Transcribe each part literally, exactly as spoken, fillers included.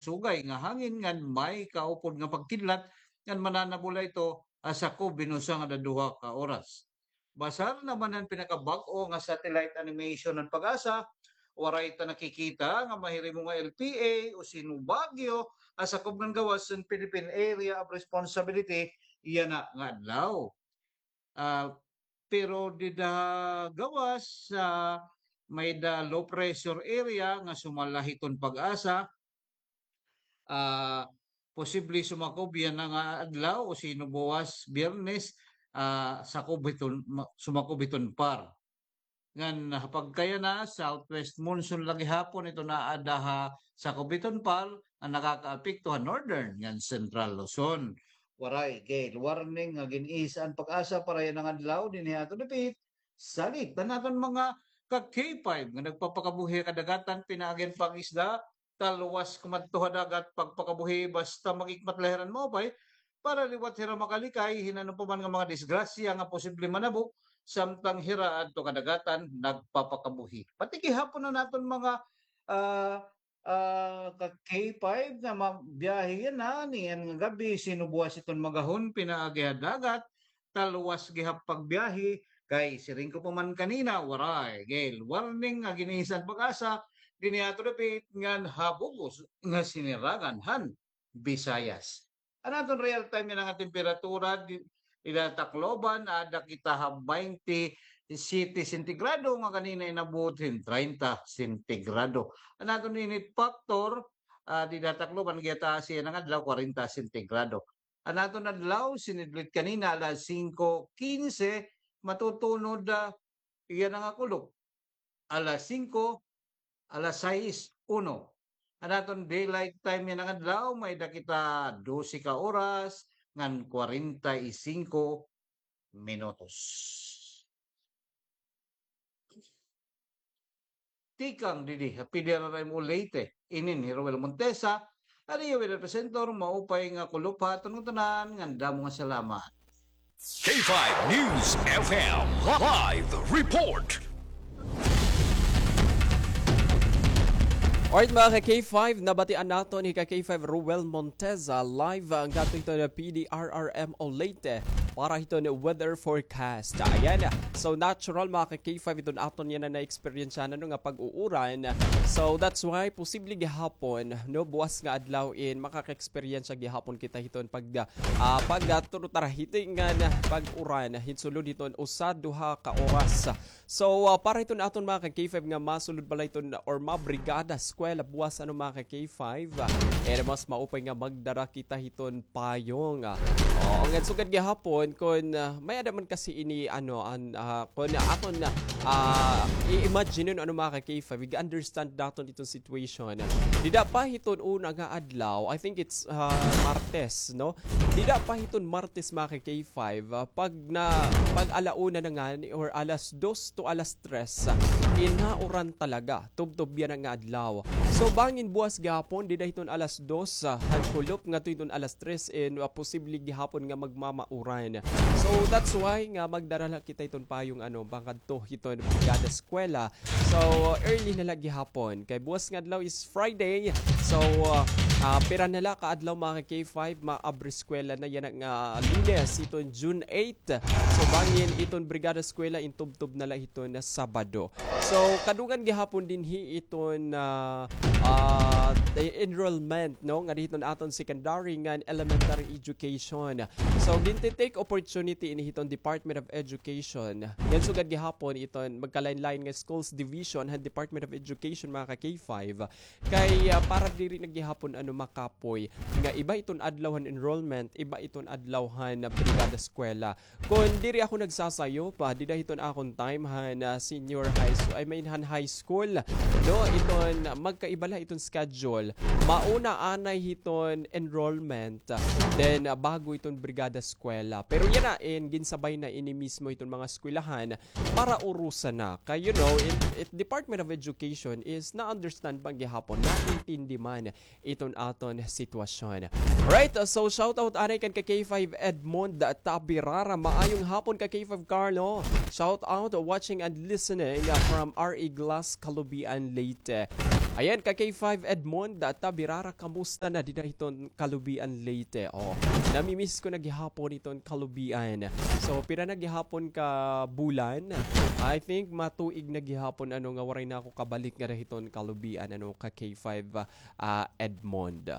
sugay nga hangin ngan may kaupod nga pagkidlat ngan mananabula ito, ah, sakob hin usa ngada duha ka oras. Basar naman an pinakabag-o nga satellite animation han PAGASA, waray ta nakikita nga mahirimo nga L P A o Sino Baguio, ah, sakob ngan gawas han Philippine Area of Responsibility, yana nga adlaw. Ah, pero dida gawas, ah, may-ada low pressure area nga sumala hiton PAGASA, ah, posible sumakob yana nga adlaw o sino buwas, Biyernes, ah, sakob hiton, ma-, sumakob hiton PAR. Ngan, ah, pagkayana, southwest monsoon la gihapon iton aada ha sakob hiton PAR nga nakakaapekto ha northern ngan central Luzon. Waray gale warning nga gin-issue an PAGASA para yana nga adlaw dinhi ha aton dapit. Salit an aton mga ka-K five nga nagpapakabuhi ha kadagatan pinaagi han pangisda, talwas kumadto ha dagat pagpakabuhi basta mag-ikmat la hira hin maupay para liwat hira makalikay hin ano pa man nga mga disgrasya nga posible manabo samtang hira adto kadagatan nagpapakabuhi. Pati gihapon an aton mga, ah, ah, ka-K five nga ma-, biyahe yana niyan nga gab-i, sino buwas iton magahon pinaagi ha dagat, talwas gihap pagbiyahe, kay siring ko pa man kanina, waray gale warning nga gin-issue han PAGASA dinhi ha aton dapit ngan ha bug-os nga siniragan han Visayas. An aton real time yana nga temperatura di-, dida Tacloban, aada kita ha baynte siyete sentigrado nga kanina inabot hin treinta sentigrado. An aton init factor, ah, dida Tacloban, gihataas yana nga adlaw, kwarenta sentigrado. An aton adlaw, sinidlit kanina, alas singko kinse, matutunod, ah, yana nga kulop. Alas singko, alas sais, uno. An aton daylight time yana nga adlaw, may-ada kita dose ka oras ngan kwarenta y singko minutos. Tikang didi ha P D R R M O Leyte, inin hi Roel Montesa, an iyo weather presenter, maupay nga kulop ha aton ngatanan, ngan damo nga salamat. K five News F M live report. Alright, mga ka-K five, nabatian naton hi ka-K five Roel Montesa live, ah, ngadto hiton P D R R M O Leyte para hiton weather forecast. Ayan. So, natural, mga ka-K five, iton aton yana na-experience na, no, nga pag-uuran. So, that's why posible gihapon, no, buwas nga adlaw in makaka-experience gihapon kita hiton pag, ah, pag, ah, turutarahitingan, pag-uran, hin sulod hiton usa, duha ka oras. So, ah, para hiton aton mga ka-K five nga masulod bala hiton or mabrigada eskwela buwas, ano, mga ka-K five, ah, eh, mas maupay nga magdara kita hiton payong, ah. Oo, ngan sugad gihapon kon, ah, may-ada man kasi ini, ano, an, ah, kon aton, ah, i-imagine, ano, mga ka-K five, i-understand naton iton situation. Dida pa hiton una nga adlaw, I think it's, ah, Martes, no? Dida pa hiton Martes, mga ka-K five, ah, pag na, pag ala una na ngani or alas dos to alas tres, ah, inauran talaga. Tubtob yana nga adlaw. So, bangin buwas gihapon, dida hiton alas dos, ah, han kulop ngadto hiton alas tres, and, ah, posible gihapon nga magmamauran. So, that's why nga magdara la kita hiton payong, ano, pangkadto hiton brigada eskwela. So, early na la gihapon. Kay buwas nga adlaw is Friday. So, ah, ah, pira na la ka adlaw, mga ka-K five, maabri eskwela na yana nga Lunes, hiton June eight. So, bangin iton brigada eskwela intubtob na la hiton Sabado. So, kadungan gihapon dinhi iton, ah, ah, enrollment, no, nga hiton aton secondary ngan elementary education. So, ginti-take opportunity ini hiton Department of Education. Ngan sugad gihapon iton magkalain-lain nga schools division han Department of Education, mga ka-K five. Kay, ah, para diri na gihapon, ano, makapoy nga iba iton adlaw han enrollment, iba iton adlaw han brigada eskwela. Kon diri ako nagsasayop, dida hiton akon time han, ah, senior high school, I mean, han high school, no, iton magkaiba la iton schedule. Mauna anay hiton enrollment, then, ah, bago iton brigada eskwela. Pero yana, in, ginsabay na ini mismo hiton mga eskwelahan para urusan na. Kay, you know, it, it, Department of Education is na-understand man gihapon, naintindi man iton aton sitwasyon. Right, so shout out anay kan ka-K five Edmond Tabirara. Maayong hapon ka-K five Carlo. Shout out, watching and listening, uh, from R E Glass, Calubian, Leyte. Ayan, ka K five Edmond, ah, Tabirara, kamusta na dida hiton kalubian Leyte? Oh, namimiss ko na gihapon hiton kalubian. So, pira na gihapon ka bulan? I think matuig na gihapon, ano, nga waray na ako kabalik nga hiton kalubian, ano, ka K five, ah, Edmond.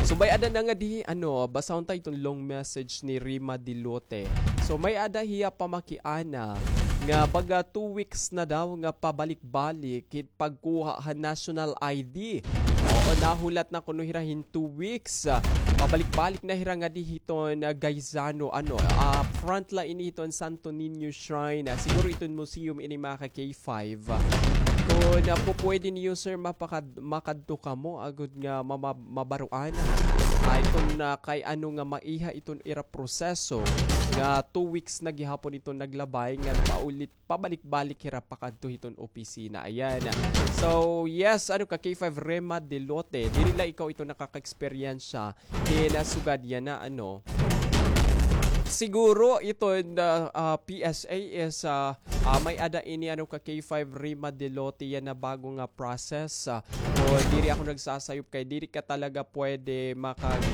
So, may-ada na nga di, ano, basahon ta iton long message ni Rima Dilote. So, may-ada hiya pamakiana nga baga two weeks na daw nga pabalik-balik it pagkuha han national I D. Oo, nahulat na kuno hira hin two weeks. Ah, pabalik-balik na hira ngadi hiton, ah, Gaisano, ano, ah, frontline ini hiton Santo Niño Shrine. Ah, siguro iton museum ini, mga ka K five. Kon, ah, pupwede niyo, sir, mapakad-, makadto kamo, agod nga mama-, mabaruan. Ah, iton, ah, kay ano nga maiha iton ira proseso nga two weeks na gihapon iton naglabay nga paulit pabalik-balik hira pakadto hiton opisina. Ayan. So, yes, ano ka, K five Rema Delote, diri la ikaw ito nakaka-eksperyensya hin, ah, sugad yana, ano. Siguro iton, ah, ah, P S A is, ah, ah, may-ada ini, ano ka, K five Rema Delote yana bago nga process. Ah, o diri ako nagsasayop kay diri ka talaga pwede makag,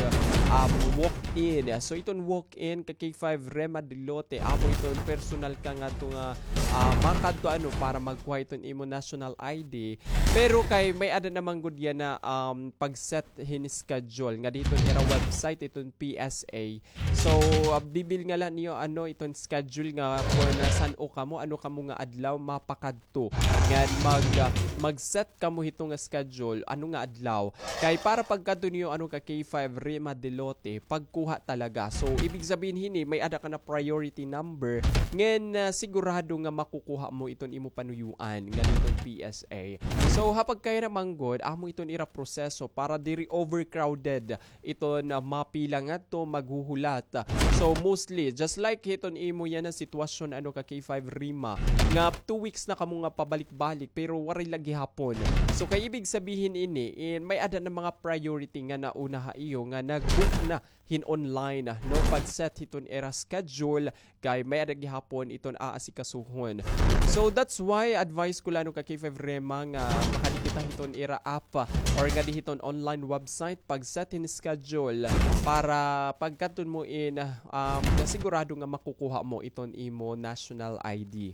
um, walk in. So iton walk in ka K five Rema Delote, amo iton personal ka ngadto nga, ah, makadto, ano, para magkuha iton imo national I D. Pero kay may-ada naman gud yana, um, pag-set hin schedule ngadi hiton ira website iton P S A. So, ah, bibilngan la niyo, ano, iton schedule nga kon san-o kamo, ano kamo nga adlaw mapakadto. Ngan mag, ah, mag-set kamo hito nga schedule, ano nga adlaw. Kay para pagkadto niyo, ano ka, K five Rema Delote, pagkuha talaga. So, ibig sabihin hini, may-ada ka na priority number. Ngan, ah, sigurado nga makukuha mo iton imo panuyuan ngadi hiton P S A. So, ha pagkayra man gud, amo iton ira proseso para diri overcrowded iton, ah, mapila ngadto maghuhulat. So, mostly, just like hiton imo yana sitwasyon, ano ka, K five Rema, nga two weeks na kamo nga pabalik-balik, pero waray la gihapon. So, kay ibig sabihin ini, in, may-ada na mga priority nga nauna ha iyo nga nag-book na hin online, no? Pag-set hiton ira schedule, kay may-ada gihapon iton aasikasuhon. So, that's why advice ko la, ano ka, K five Rema, nga makadi kita hiton ira app or ngadi hiton online website, pag-set hin schedule para pagkadton mo in, um, sigurado nga makukuha mo iton imo national I D.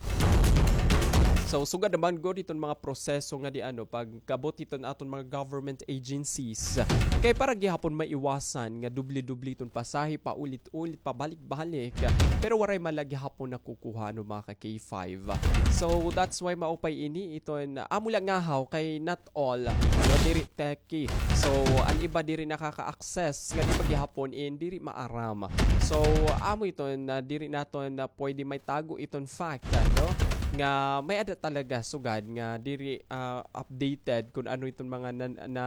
So, sugad naman gud iton mga proseso ngadi, ano, pagkabot hiton aton mga government agencies. Kay para gihapon maiwasan nga doble-doble iton pasahe, paulit-ulit, pabalik-balik. Pero waray man la gihapon nakukuha, ano, mga ka K five. So, that's why maupay ini iton, amo la ngahaw kay not all, no, diri techie. So, an iba diri nakaka-access, nga di pa gihapon in diri maaram. So, amo iton, ah, diri naton, ah, pwede maitago iton fact, ah, no? Nga may-ada talaga sugad nga diri, ah, updated kun ano iton mga na, na,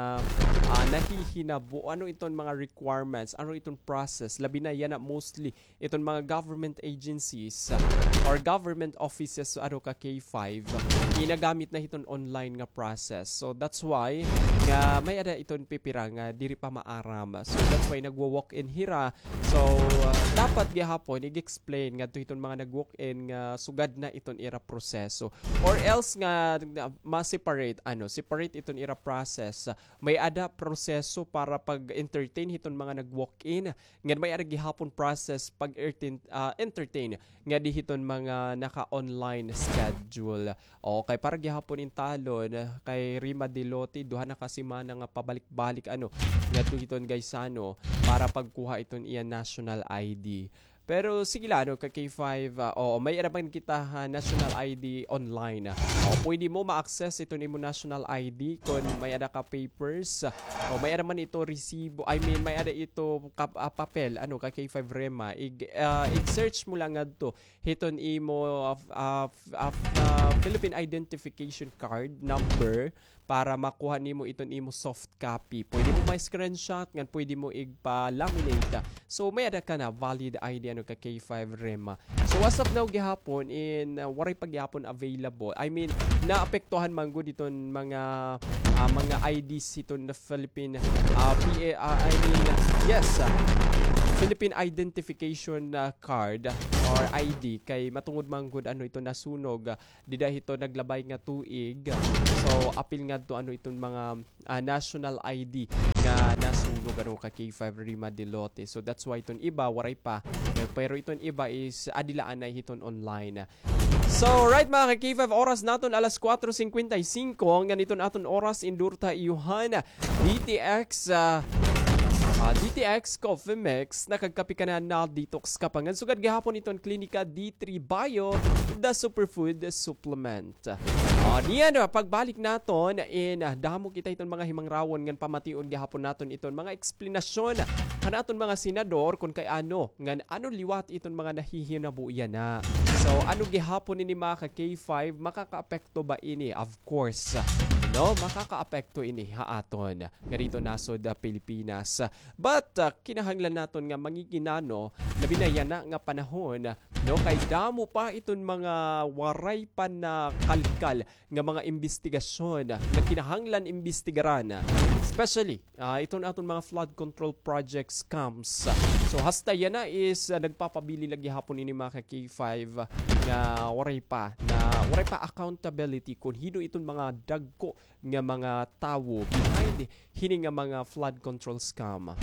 ah, nahihinabo, ano iton mga requirements, ano iton process, labi na yana mostly iton mga government agencies, ah, or government offices, ano ka, K five, ginagamit na hiton online nga process. So, that's why nga may-ada iton pipira nga diri pa maaram. So, that's why nagwo-walk-in hira. So, ah, dapat gihapon, ig-explain ngadto hiton mga nag-walk-in nga sugad na iton ira proseso. Or else nga, nga ma-separate, ano, separate iton ira process. May-ada proseso para pag-entertain hiton mga nag-walk-in. Ngan may-ada gihapon process pag-entertain, ah, entertain ngadi hiton mga naka-online schedule. Okay, para gihapon in talon, kay Rima Delote, duha na ka semana nga pabalik-balik, ano, ngadto hiton Gaisano para pagkuha iton iya national I D. Pero sige la, ano, ka K five, ah, oo, may-ada man kita ha national I D online. O, pwede mo ma-access iton imo national I D kon may-ada ka papers. O, may-ada man ito resibo, I mean, may-ada ito kap-, ah, papel, ano, ka K five Rema. Ig-, ah, ig-search mo lang ngadto hiton imo, ah, ah, ah, Philippine Identification Card number para makuha nimo iton imo soft copy. Pwede mo ma-screenshot, ngan pwede mo igpa-laminate. So, may-ada ka na valid I D, ano, ka K five Rema. So, as of now gihapon, in, uh, waray pa gihapon available. I mean, naapektuhan man gud iton mga, ah, mga I Ds hiton Philippine, ah, P A, ah, I mean, yes, ah, Philippine Identification, ah, Card or I D, kay matungod man gud ano ito nasunog, ah, dida hito naglabay nga tuig. So, apil ngadto ano iton mga, ah, national I D nga nasunog ano ka K five Rima Dilote. So, that's why iton iba waray pa. Eh, pero iton iba is adi la anay hiton online. So, right, mga ka K five, oras naton alas kuwatro singkwenta y singko. Ngan iton aton oras, indur ta iyohan D T X, ah, ah, D T X Coffee Mix. Nakagkape ka na, na-detox ka pa. Ngan sugad gihapon iton Klinika D three Bio, the superfood supplement. Ah, niyan, ah, pagbalik naton in, ah, damo kita iton mga himangrawon ngan pamation gihapon naton iton mga eksplanasyon han aton mga senador kon kay ano ngan ano liwat iton mga nahihinabo yana. So, ano gihapon ini, mga ka K five, makakaapekto ba ini? Of course, no, makakaapekto ini ha aton nga didto nasod, ah, Pilipinas. But, ah, kinahanglan naton nga manginginano, labi na yana nga panahon, no, kay damo pa iton mga waray pa nakalkal nga mga imbestigasyon nga kinahanglan imbestigaran, especially, ah, iton aton mga flood control project scams. So, hasta yana is, ah, nagpapabilin la gihapon ini, mga ka K five, nga waray pa, na waray pa accountability kon hin-o iton mga dagko nga mga tawo behind hini nga mga flood control scam.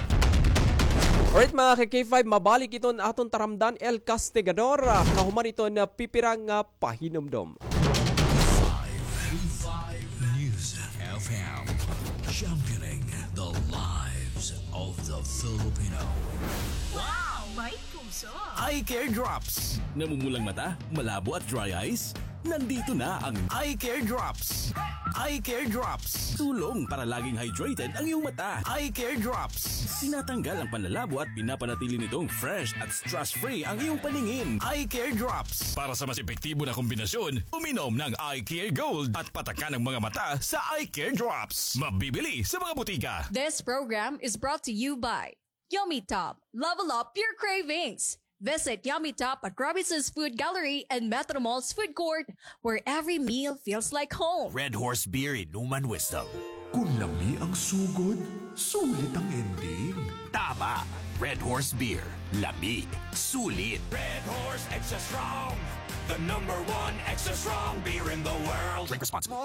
Alright, mga ka K five, mabalik iton aton taramdan, El Castigador, ah, kahuman iton, ah, pipira nga pahinumdom. Five News F M, championing the lives of the Filipino. Wow! May puso! Eye Care Drops. Namumulang mata, malabo at dry eyes? Nandito na ang Eye Care Drops. Eye Care Drops. Tulong para laging hydrated ang iyong mata. Eye Care Drops. Tinatanggal ang panlalabo at pinapanatili nitong fresh at stress-free ang iyong paningin. Eye Care Drops. Para sa mas epektibo na kombinasyon, uminom ng Eye Care Gold at patakan ang mga mata sa Eye Care Drops. Mabibili sa mga butika. This program is brought to you by Yummy Top. Level up your cravings. Visit Yummy Top at Robinson's Food Gallery and Metro Mall's Food Court, where every meal feels like home. Red Horse Beer, Inuman Wisdom. Kung lami ang sugod, sulit ang ending. Tama! Red Horse Beer. Lami. Sulit. Red Horse Extra Strong. The number one extra strong beer in the world. Drink responsibly.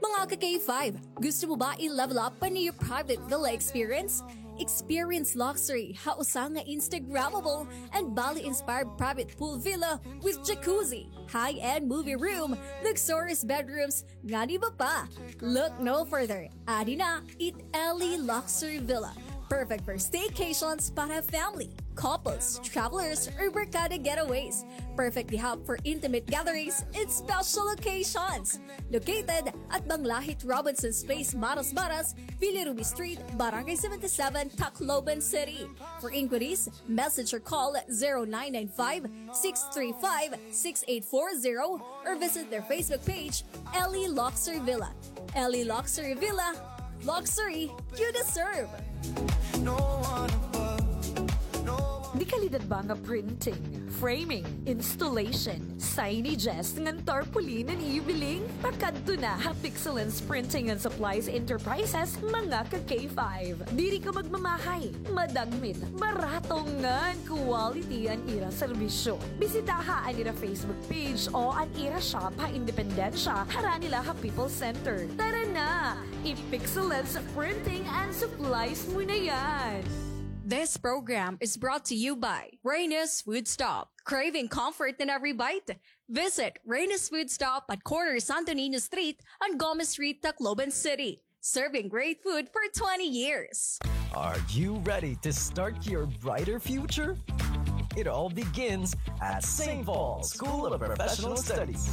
Mga ka K five, gusto mo ba i-level up pa an iyo private villa experience? Experience luxury ha usa nga Instagrammable and Bali-inspired private pool villa with jacuzzi, high-end movie room, luxurious bedrooms, ngan iba pa. Look no further. Adi na it Ellie Luxury Villa. Perfect for staycations para family, couples, travelers, or barkada getaways. Perfect gihap for intimate gatherings and special occasions. Located at Banglahit Robinson's Place, Marasmaras, Villa Ruby Street, Barangay seventy-seven, Tacloban City. For inquiries, message or call zero nine nine five, six three five, six eight four zero or visit their Facebook page, Ellie Luxury Villa. Ellie Luxury Villa, luxury you deserve. Dekalidad ba nga printing, framing, installation, signages ngan tarpaulin an iyo biling? Pakadto na ha Pixelance Printing and Supplies Enterprises, mga ka K five. Diri ka magmamahay, madagmit, barato ngan quality an ira serbisyo. Bisitaha an ira Facebook page o an ira shop ha Independencia, harani la ha People's Center. Tara na! I-Pixelance Printing and Supplies mo na yan! This program is brought to you by Reyna's Food Stop. Craving comfort in every bite? Visit Reyna's Food Stop at corner Santo Niño Street and Gomez Street, Tacloban City. Serving great food for twenty years. Are you ready to start your brighter future? It all begins at Saint Paul School of Professional Studies.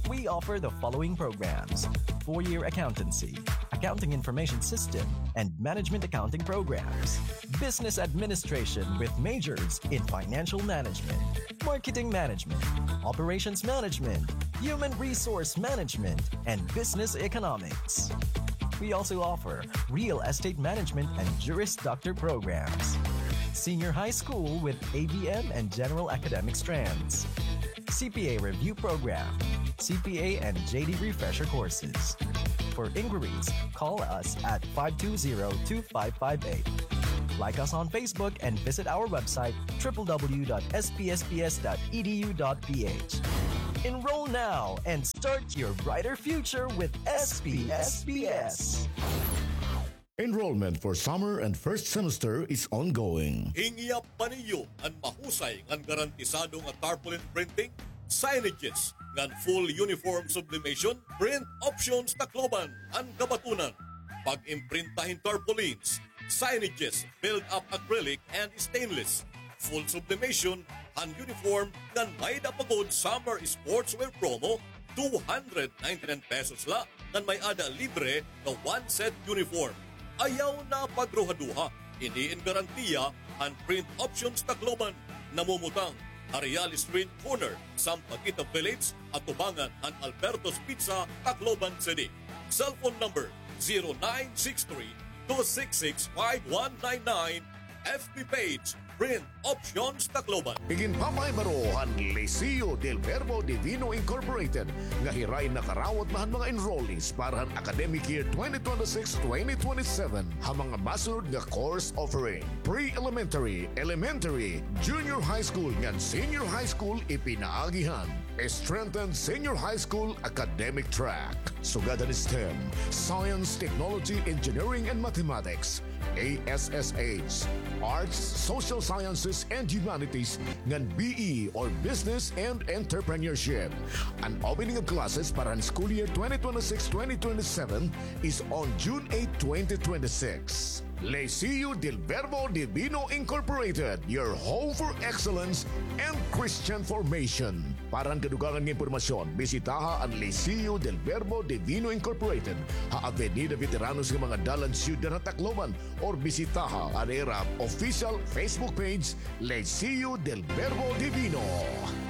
We offer the following programs: four-year accountancy, accounting information system, and management accounting programs, business administration with majors in financial management, marketing management, operations management, human resource management, and business economics. We also offer real estate management and Juris Doctor programs, senior high school with A B M and general academic strands, C P A Review Program, C P A and J D Refresher Courses. For inquiries, call us at five two zero, two five five eight. Like us on Facebook and visit our website, triple W dot S P S P S dot E D U dot P H. Enroll now and start your brighter future with S P S P S. Enrollment for summer and first semester is ongoing. Hingyap pa niyo an mahusay ngan garantisado nga tarpaulin printing, signages, ngan full uniform sublimation? Print Options Tacloban an kabatunan. Pag-imprinta hin tarpaulins, signages, build-up acrylic and stainless, full sublimation han uniform, ngan may-ada pa gud summer sportswear promo, two hundred ninety-nine pesos la, ngan may-ada libre nga one set uniform. Ayaw na pagruhaduha, ini in garantiya han Print Options Tacloban, namumutang ha Real Street corner, Sampaguita Village, atubangan han Alberto's Pizza, Tacloban City. Cellphone number, zero nine six three, two six six, five one nine nine. F B page, Print Options Tacloban. Iginpapahibarohan han Liceo del Verbo Divino Incorporated nga hiray nakarawat na han mga enrollees para han academic year twenty twenty-six twenty twenty-seven ha mga masunod nga course offering: pre-elementary, elementary, junior high school ngan senior high school ipinaagi han strengthened senior high school academic track. Sugad han STEM, Science, Technology, Engineering, and Mathematics, A S S H, Arts, Social Sciences, and Humanities, ngan B E or Business and Entrepreneurship. An opening of classes para han school year twenty twenty-six twenty twenty-seven is on June eight, twenty twenty-six. Liceo del Verbo Divino Incorporated, your home for excellence and Christian formation. Para han kadugangan nga impormasyon, bisitaha an Liceo del Verbo Divino Incorporated ha Avenida Veteranos nga mga dalan, Syudad han Tacloban, or bisitaha an ira official Facebook page, Liceo del Verbo Divino.